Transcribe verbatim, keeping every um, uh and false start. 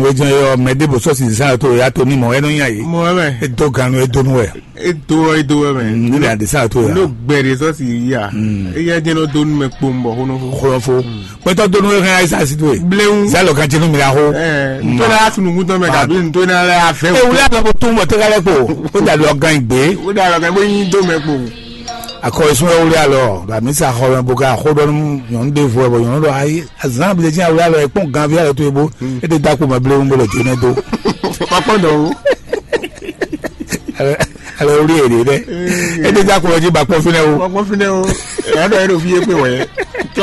Wejɔn yɔ mɛ ɖěbǔ sɔ́ si zán tó ya tó ní mɔ ɛnɔ nya yìí. Mɔ wɛ mɛ. E dó ganu e dó nú wɛ. E dó wɛ e dó wɛ mɛ. Ne bɛ adi sán tó ya. N'o gbɛ de sɔ́ si yí a. Eya jẹ́ n'o dó nú mɛ kpomɔ xónɔfó. Xónɔfó. Pɛtɔ dó nú wɛ hɛn ayisa si tó ye. Bléwu. Zalɔ kan jɛnu mi la xó. Ɛɛ ntɔla ya sunukun tɔn mɛ kabi ntɔla ya fɛ. E wuli alɔ ko tún bɔ tɛgɛ lɛ kpo. O da lɔ gan igbe. O da lɔ gan igbe yin dó mɛ kpo. Akɔ esun wɛ wuli alɔ la mi sa xɔ mɛ bo ka xó dɔ nú nyɔnu de vo ɛ bɔ nyɔnu dɔ ayi. Azan bi de jin awuli alɔ ekpɔn gan vi alɔ to ebo. E de da ko mɛ blewu bo lɔ jɛnɛ do. Kpɔkpɔ dɔ o. Alɔ wuli ere dɛ. E de da ko lɔ ji ba kpɔ finɛ o. Kpɔkpɔ finɛ o. Ɛyà dɔ yɛ do fi yé pe wɛ.